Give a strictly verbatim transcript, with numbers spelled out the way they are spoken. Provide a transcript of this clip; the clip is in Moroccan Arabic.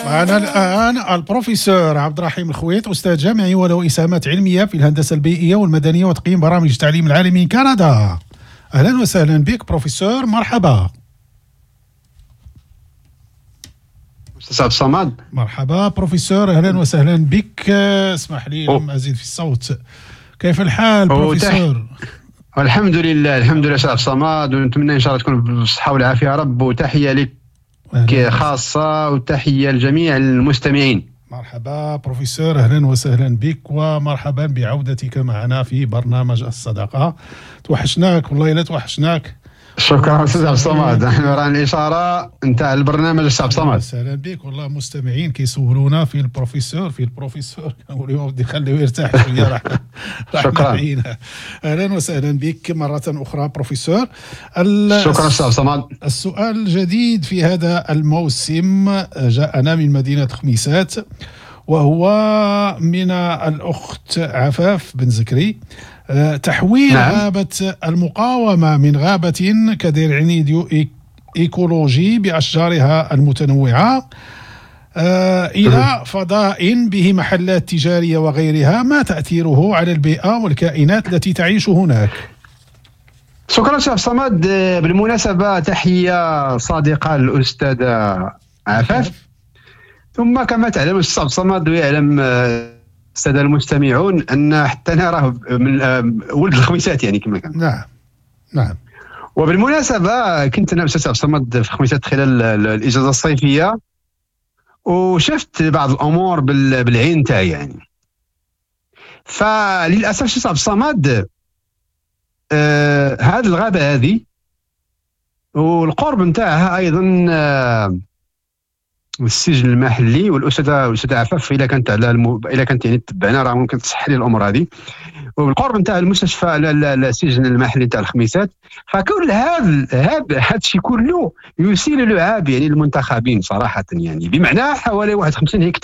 معنا الآن البروفيسور عبد الرحيم الخويط، أستاذ جامعي وله إسهامات علمية في الهندسة البيئية والمدنية وتقييم برامج التعليم العالي من كندا. أهلا وسهلا بك بروفيسور، مرحبا. أستاذ عبد الصمد. مرحبا بروفيسور، أهلا وسهلا بك. اسمح لي لم أزيد في الصوت. كيف الحال بروفيسور؟ الحمد لله، الحمد لله أستاذ عبد الصمد، ونتمنى إن شاء الله تكون بالصحة والعافية يا رب، وتحية لك خاصة وتحية لجميع المستمعين. مرحبا بروفيسور، أهلا وسهلا بك ومرحبا بعودتك معنا في برنامج الصداقة. توحشناك والله، لا توحشناك. شكرا استاذ عبد الصمد، نحن راه الاشارة نتاع البرنامج استاذ عبد الصمد. اهلا بك. والله مستمعين كيسولونا في البروفيسور في البروفيسور، كنقول لهم بدي خليه يرتاح شوية. راح شكرا. اهلا وسهلا بك مرة اخرى بروفيسور. شكرا استاذ عبد الصمد. السؤال الجديد في هذا الموسم جاءنا من مدينة خميسات، وهو من الاخت عفاف بن زكري. تحويل نعم. غابة المقاومة من غابة كدرع إيكولوجي بأشجارها المتنوعة إلى فضاء به محلات تجارية وغيرها، ما تأثيره على البيئة والكائنات التي تعيش هناك؟ شكرا شيخ صمد. بالمناسبة تحية صادقة للأستاذة عفاف. ثم كما تعلم الأستاذ صمد ويعلم السادة المستمعون ان حتى انا راه من ولد الخميسات يعني كما كان. نعم نعم. وبالمناسبة كنت انا استاذ عبد الصمد في خميسات خلال الاجازة الصيفية، وشفت بعض الامور بالعين تاعي يعني. فللاسف استاذ عبد الصمد آه هذه الغابة هذه والقرب نتاعها ايضا آه السجن المحلي، والاستاذه الاستاذة عفاف الا كانت على الم... الا كانت يعني تتبعنا راه ممكن تصحح لي الامور هذه. وبالقرب نتاع المستشفى السجن المحلي نتاع الخميسات، فكل هذا هذا هذا الشيء كله يسيل لعاب يعني المنتخبين صراحة، يعني بمعنى حوالي واحد وخمسين هكتار